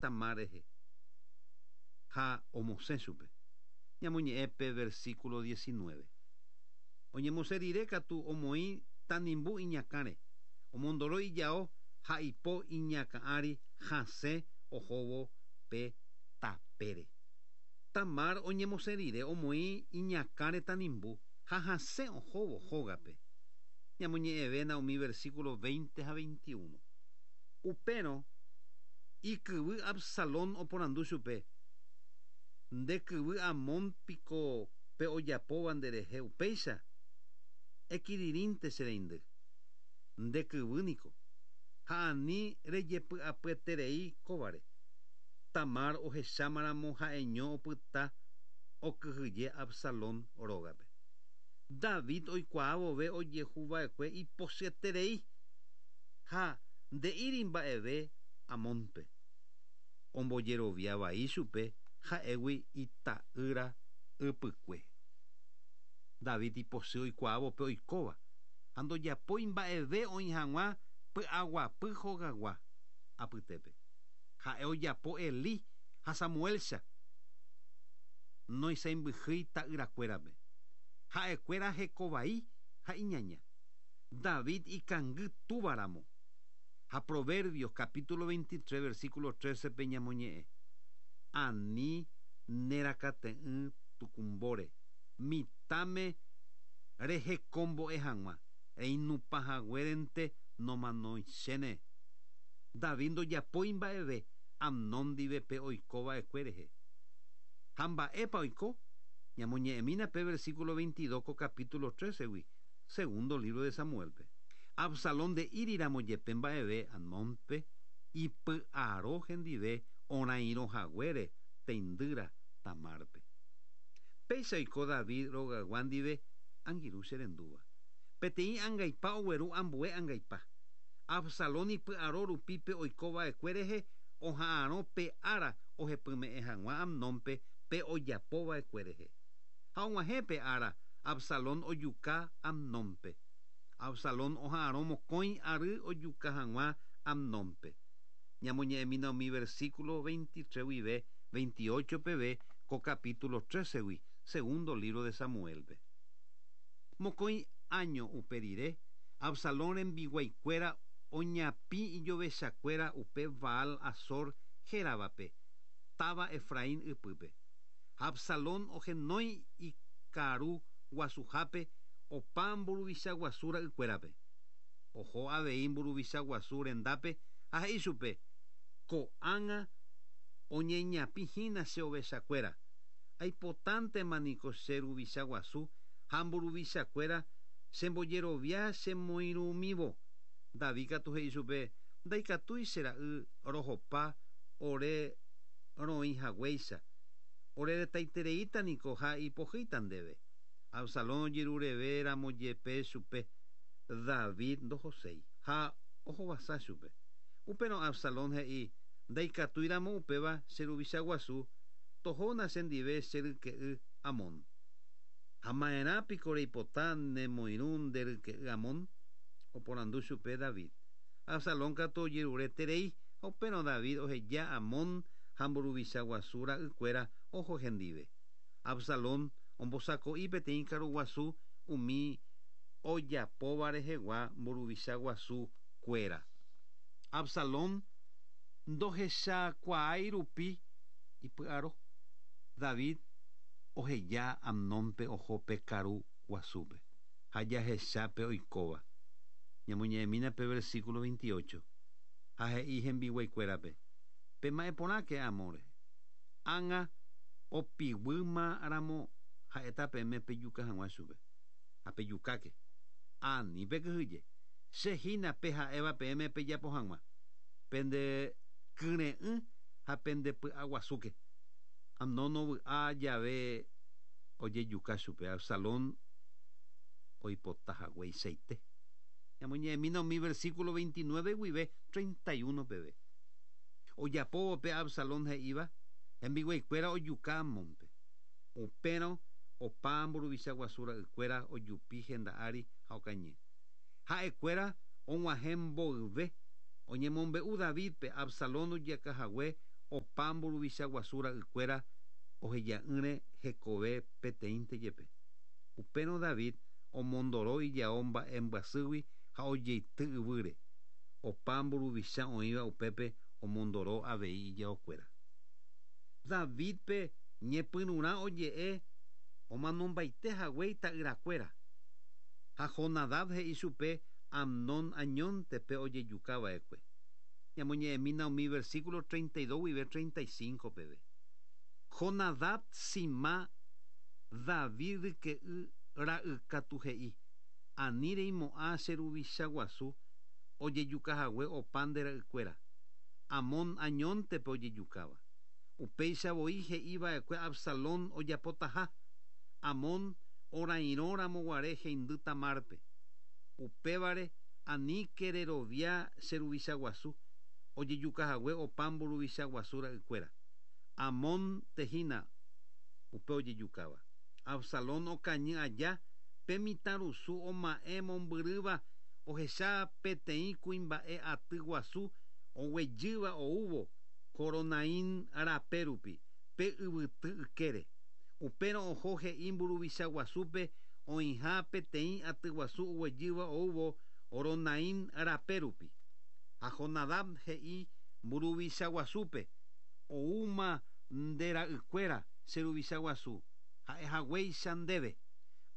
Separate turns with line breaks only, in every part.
Tamar rehe ha omosẽ chupe. Ñamoñe'ẽ pe versículo 19. Oñemosẽ rire katu omoĩ tanimbu iñakãre, omondoro ijao ha ipo iñakã ári hasẽ ohóvo pe tapére. Tamar oñemosẽ rire omoĩ iñakãre tanimbu ha hasẽ ohóvo hógape. Ñamoñe'ẽvéna umi versículo 20 ha 21. Upérõ ikyvy Absalón oporandu chupe, Nde kyvy Amón piko pe ojapóva nderehe upéicha? Ekirirĩnte che reindy. Nde kyvy niko. Ha ani rejepy'apyeterei kóvare. Tamar ohechámaramo ha'eño opyta okyhyje Absalón rógape. David oikuaa vove ojehu va'ekue ipochyeterei ha nde'íri mba'eve Amónpe. Ombojerovia vai chupe ha'égui ita'ýra ypykue. David ipochy oikuaávo pe oikóva ha ndojapói mba'eve oĩ hag̃ua py'aguapy hogagua apytépe. Ha'e ojapo Elí ha Samuélcha noisãimbyhýi ta'yrakuérape. Ha'ekuéra heko vai ha iñaña. David ikangy túva ramo. Ha Proverbios capítulo 23 versículo 13-pe ñamoñe'ẽ, Ani nerakate'ỹ tukumbóre, mitãme rehekombo'e hag̃ua, reinupã haguérente nomanoichéne. David ndojapói mba'eve Amnón ndive pe oiko va'ekue rehe. Ha mba'épa oiko? Ñamoñe'ẽmína pe versículo 22 ko capítulo 13-gui, segundo libro de Samuel-pe. Absalón nde'íri ramo jepe mba'eve Amnónpe, ipy'aro hendive orãirõ haguére teindýra Tamárpe. Péicha oiko David rogaygua ndive angirũ che rendúva. Peteĩ angaipa ogueru ambue angaipa. Absalón ipy'aro rupi pe oiko va'ekue rehe oha'arõ pe ára ohepyme'ẽ hag̃ua Amnónpe pe ojapo va'ekue rehe. Ha og̃uahẽ pe ára, Absalón ojuka Amnónpe. Absalón oha'arõ mokõi ary ojuka hag̃ua Amnónpe. Ñamoñe'ẽmína umi versículo 23 guive 28 peve ko capítulo 13-gui, segundo libro de Samuel-pe. Mokõi áño upe rire, Absalón rembiguaikuéra oñapĩ ijovechakuéra upe Baal-Hazor héravape, táva Efraín ypýpe. Ha Absalón ohenói ikaru guasuhápe opa mburuvicha guasu ra'ykuérape. Oho avei mburuvicha guasu rendápe ha he'i chupe, Ko'ág̃a oñeñapĩ hína che ovechakuéra, aipotántema niko che ruvicha guasu ha mburuvichakuéra chembojerovia chemoirũmívo. David katu he'i chupe, Ndaikatúi che ra'y rohopa ore roĩ haguéicha, ore retaitereíta niko ha ipohýita ndéve. Absalón ojerureve ramo jepe chupe, David ndohoséi, ha ohovasa chupe. Upérõ Absalón he'i, Ndaikatúi ramo upéva che ruvicha guasu, tohóna che ndive che ryke'y Amón. Ha ma'erã piko reipota ne moirũ nde ryke'y Amón? Oporandu chupe David. Absalón katu ojerure terei, ha upérõ David oheja Amón ha mburuvicha guasu ra'y kuéra oho hendive. Absalón ombosako'i peteĩ karu guasu umi ojapóva rehegua mburuvicha guasu kuéra. Absalón ndohechakuaái rupi ipy'aro, David oheja Amnónpe oho pe karu guasúpe. Ha jahecha pe oikóva. Ñamoñe'ẽmína pe versículo 28. Ha he'i hembiguaikuérape, Pema'ẽ porãke Amón rehe. Ág̃a opiguýma ramo ha'éta peẽme pejuka hag̃ua chupe. Ha pejukáke. Ani pekyhyje. Che hína pe ha'éva peẽme pejapo hag̃ua. Pende kyre'ỹ ha pende py'aguasúke. Amnón ovy'a jave ojejuka chupe Absalón oipota hagueichaite. Ñamoñe'ẽmína umi versículo 29 guive 31 peve. Ojapóvo pe Absalón he'íva, hembiguaikuéra ojuka Amónpe. Upérõ opa mburuvicha guasu ra'ykuéra ojupi henda ári ha okañy. Ha'ekuéra og̃uahẽ mboyve, oñemombe'u Davídpe Absalón ojeka hague opa mburuvicha guasu ra'ykuéra oheja'ỹre hekove peteĩnte jepe. Upérõ David omondoro ijao mba'embyasýgui ha ojeity yvýre. Opa mburuvicha oĩva upépe omondoro avei ijaokuéra. Davídpe ñepyrũrã oje'e omanombaite hague ita'yrakuéra. Ha Jonadab he'i chupe Amnón añónte pe ojejuka va'ekue. Ñamoñe'ẽmína umi versículo 32 guive 35 peve. Jonadab Simá David ryke'y ra'y katu he'i, Ani reimo'ã che ruvicha guasu ojejuka hague opa nde ra'ykuéra, Amón añónte pe ojejukáva. Upéicha voi he'i va'ekue Absalón ojapotaha, Amón orairõ ramo guare heindy Tamárpe. Upévare aníke rerovia che ruvicha guasu ojejuka hague opa mburuvicha guasu ra'ykuéra. Amónte hína upe ojejukáva. Absalón okañy aja, pe mitãrusu oma'ẽ mombyrýva ohecha peteĩ kuimba'e aty guasu oguejýva oúvo Horonaim rape rupi, pe yvyty ykére. Upérõ oho he'i mburuvicha guasúpe oĩha peteĩ aty guasu oguejýva oúvo Horonaim rape rupi. Ha Jonadab he'i mburuvicha guasúpe, Oúma nde ra'ykuéra, che ruvicha guasu, ha'e haguéicha ndéve.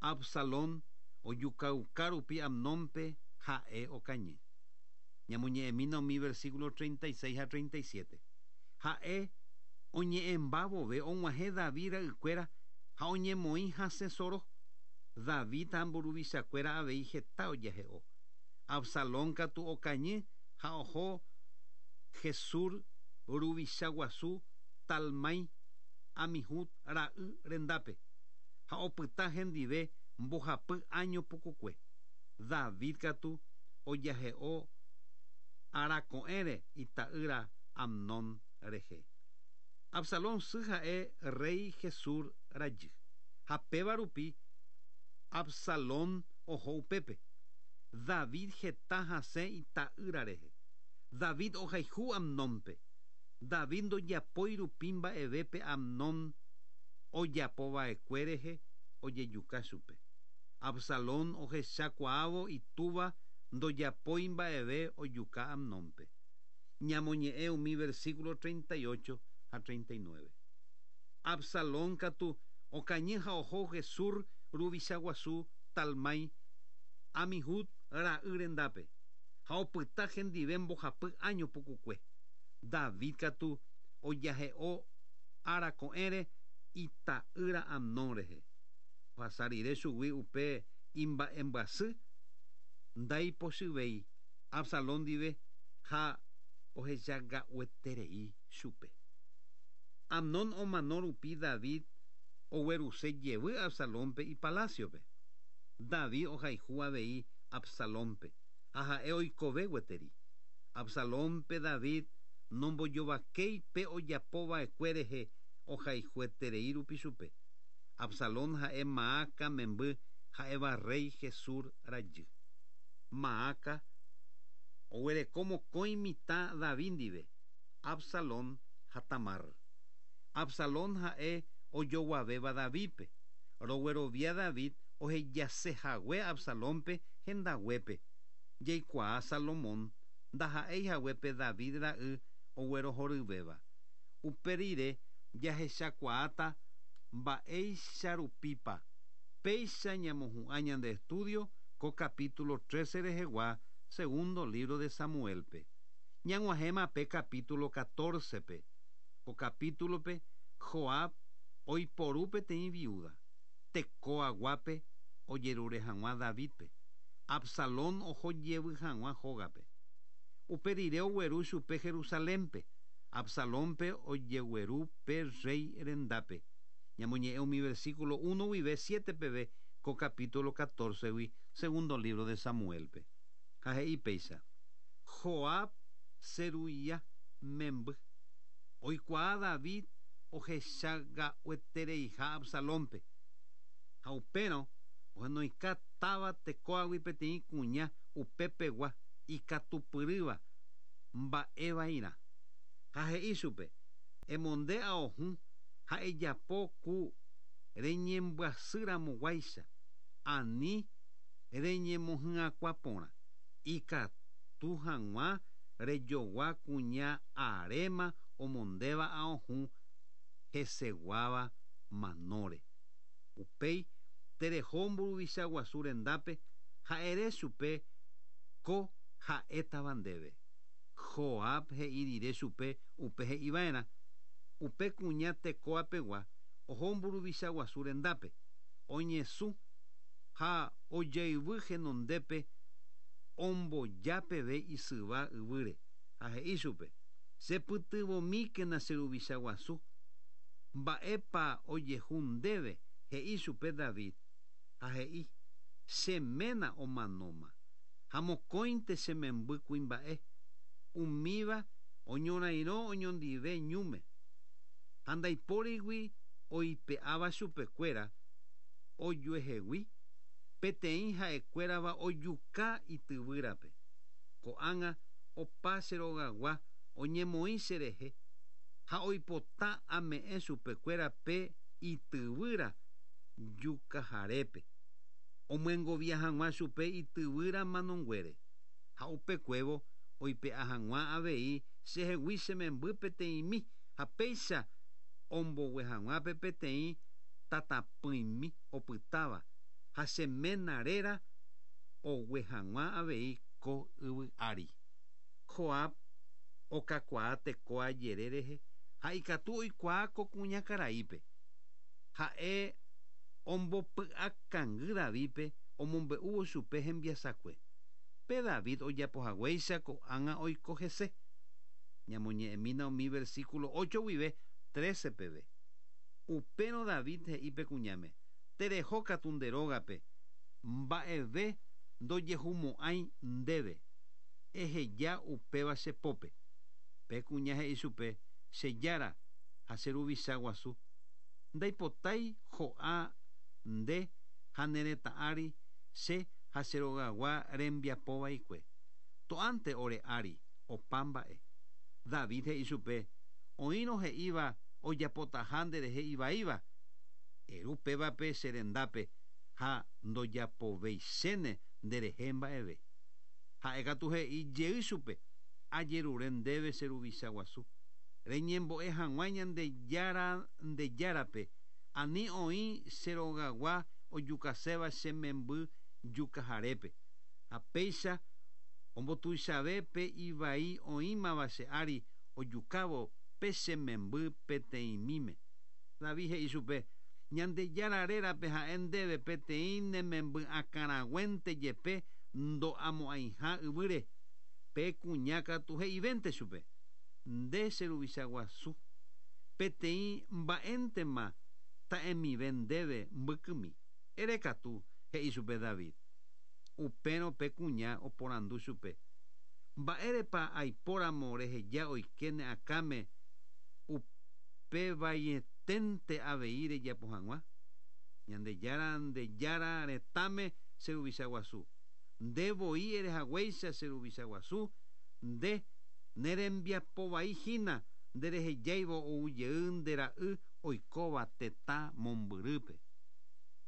Absalón ojukauka rupi Amnónpe ha'e okañy. Ñamoñe'ẽmína umi versículo 36 ha 37. Ha'e oñe'ẽmba vove og̃uahẽ David ra'ykuéra ha oñemoĩ hasẽ soro. David ha mburuvichakuéra avei heta ojahe'o. Absalón katu okañy ha oho Gesur ruvicha guasu Talmái Amihud ra'y rendápe, ha opyta hendive mbohapy áño pukukue. David katu ojahe'o arako'ẽre ita'ýra Amnón rehe. Absalón sy ha'e rréi Gesur rajy, ha péva rupi Absalón oho upépe. David heta hasẽ ita'ýra rehe. David ohayhu Amnónpe. David ndojapói rupi mba'eve pe Amnón ojapo va'ekue rehe ojejuka chupe. Absalón ohechakuaávo itúva ndojapói mba'eve ojuka Amnónpe. Ñamoñe'ẽ umi versículo 38 ha 39. Absalón katu okañy ha oho Gesur ruvicha guasu Talmái, Amihud ra'y rendápe, ha opyta hendive mbohapy áño pukukue. David katu ojahe'o ára ko'ẽre ita'ýra Amnón rehe. Ohasa rire chugui upe imba'embyasy, ndaipochyvéi Absalón ndive ha ohechaga'ueterei chupe. Amnón omano rupi David ogueruse jevy Absalónpe ipalásiope. David ohayhu avei Absalónpe, ha ha'e oikove gueteri. Absalónpe David nombojovakéi pe ojapo va'ekue rehe ohayhueterei rupi chupe. Absalón ha'e Maaca memby ha'éva rréi Gesur rajy. Maaca oguereko mokõi mitã David ndive, Absalón ha Tamar. Absalón ha'e ojoguavéva Davídpe. Roguerovia David ohejase hague Absalónpe hendaguépe. Jaikuaa Salomón ndaha'éi hague pe David ra'y oguerohoryvéva. Upe rire jahechakuaáta mba'éicha rupípa. Péicha ñamohu'ã ñande estúdio ko capítulo 13 rehegua segundo lívro de Samuélpe. Ñag̃uahẽma pe capítulo 14-pe. Ko capítulope Joab oiporu peteĩ viúda, Tecoaguápe ojerure hag̃ua Davídpe, Absalón oho jevy hag̃ua hógape. Upe rire ogueru chupe Jerusalénpe, Absalónpe ojegueru pe rréi rendápe. Ñamoñe'ẽ umi versículo uno guive siete peve ko capítulo catorce-gui segundo lívro de Samuélpe. Ha he'i péicha. Joab Seruiá memby. Oikuaa David ohechaga'uetereiha Absalónpe. Ha upérõ ohenoika táva Tecóagui peteĩ kuña upepegua ikatupyrýva mba'e vairã. Ha he'i chupe, Emonde ao hũ ha ejapo ku reñembyasýramoguáicha, ani reñemohyakuã porã, ikatu hag̃ua rejogua kuña aréma omondéva ao hũ heseguáva manóre. Upéi tereho mburuvicha guasu rendápe ha ere chupe ko ha'étava ndéve. Joab he'i rire chupe upe he'i va'erã, upe kuña Tecoa pegua oho mburuvicha guasu rendápe, oñesũ ha ojayvy henondépe omboja peve isyva yvýre, ha he'i chupe, Che pytyvõmíkena che ruvicha guasu. Mba'épa ojehu ndéve? he'i chupe David, ha he'i, Che ména omanóma. Ha mokõinte che memby kuimba'e, umíva oñorairõ oñondive ñúme, ha ndaipórigui oipe'áva chupekuéra ojuehegui, peteĩ ha'ekuérava ojuka ityvýrape. Ko'ág̃a opa che rogagua oñemoĩ cherehe ha oipota ame'ẽ chupekuéra pe ityvýra jukaharépe. Omyengovia hag̃ua chupe ityvýra manonguére, ha upekuévo oipe'a hag̃ua avei chehegui che memby peteĩmi ha péicha ombogue hag̃ua pe peteĩ tatapỹimi opytáva ha che ména réra ogue hag̃ua avei ko yvy ári. Joab okakuaa Tecoa jere rehe ha ikatu oikuaa ko kuñakaraípe. Ha'e ombopy'akangy Davídpe omombe'úvo chupe hembiasakue. Pe David ojapohaguéicha ko'ág̃a oiko hese. Ñamoñe'ẽmína umi versíkulo ocho guive trece peve. Upérõ David he'i pe kuñáme, Tereho katu nde rógape, mba'eve ndojehumo'ãi ndéve. Eheja upéva che pópe. Pe kuña he'i chupe, Che Jára ha che ruvicha guasu, Ndaipotái ho'a nde ha ne retã ári che ha che rogagua rembiapo vaikue. To'ánte ore ári opa mba'e. David he'i chupe, Oĩrõ he'íva ojapotaha nderehe ivaíva, eru pévape che rendápe ha ndojapoveichéne nderehe mba'eve. Ha'e katu he'i jey chupe, Ajerure ndéve che ruvicha guasu. Reñembo'e hag̃ua Ñandejára nde Járape, ani oĩ che rogagua ojukaséva che memby jukaharépe. Ha péicha ombotuichave pe ivai oĩmava che ári ojukávo pe che memby peteĩmíme. David he'i chupe, Ñandejára rérape ha'e ndéve peteĩ ne memby akãraguénte jepe ndo'amo'ãiha yvýre. Pe kuña katu he'ivénte chupe. Nde che ruvicha guasu, peteĩ mba'éntema ta'emive ndéve mbykymi. Ere katu, he'i chupe David. Upérõ pe kuña oporandu chupe, Mba'érepa aipóramo reheja oike ne akãme upe vaieténte avei rejapo hag̃ua? Ñandejára nde Jára retãme che ruvicha guasu. Nde voi ere haguéicha che ruvicha guasu, nde Ne rembiapo vai hína nderehejáivo ou jey nde ra'y oikóva tetã mombyrýpe.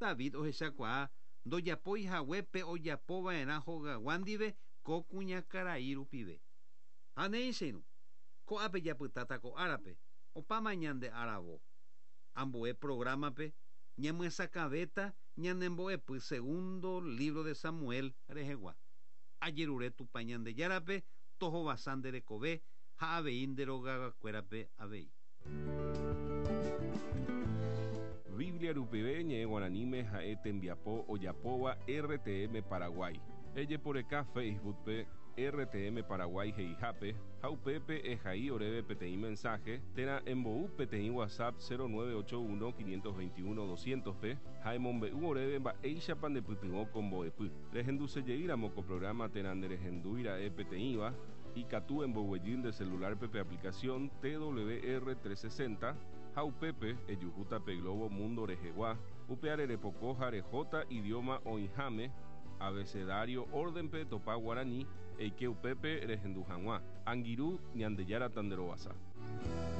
David ohechakuaa ndojapói hague pe ojapo va'erã hogagua ndive ko kuñakarai rupive. Ha néi che irũ, ko'ápe japytáta ko árape, opáma ñande aravo. Ambue prográmape ñamyesakãvéta ñane mbo'epy segundo lívro de Samuel rehegua. Ajerure Tupã Ñandejárape tohovasa nde rekove ha avei nde rogagakuérape avei.
Biblia rupive ñe'ẽ guaraníme ha'e tembiapo ojapóva RTM Paraguay. Ejeporeka Facebook-pe RTM Paraguay he'ihápe ha upépe ehai oréve peteĩ mensaje térã embou peteĩ WhatsApp 0981 521 200-pe ha emombe'u oréve mba'éichapa ndepytyvõ ko mbo'epy. Rehendusejeýramo ko prográma térã nderehendúi ra'e peteĩva, ikatu emboguejy nde selulárpe pe aplikasión TWR 360 ha upépe ejuhúta pe globo mundo rehegua, upeare repoko ha rehóta idióma oĩháme, abecedario órdenpe etopa guarani, eike upépe rehendu hag̃ua. Angirũ, Ñandejára tanderovasa.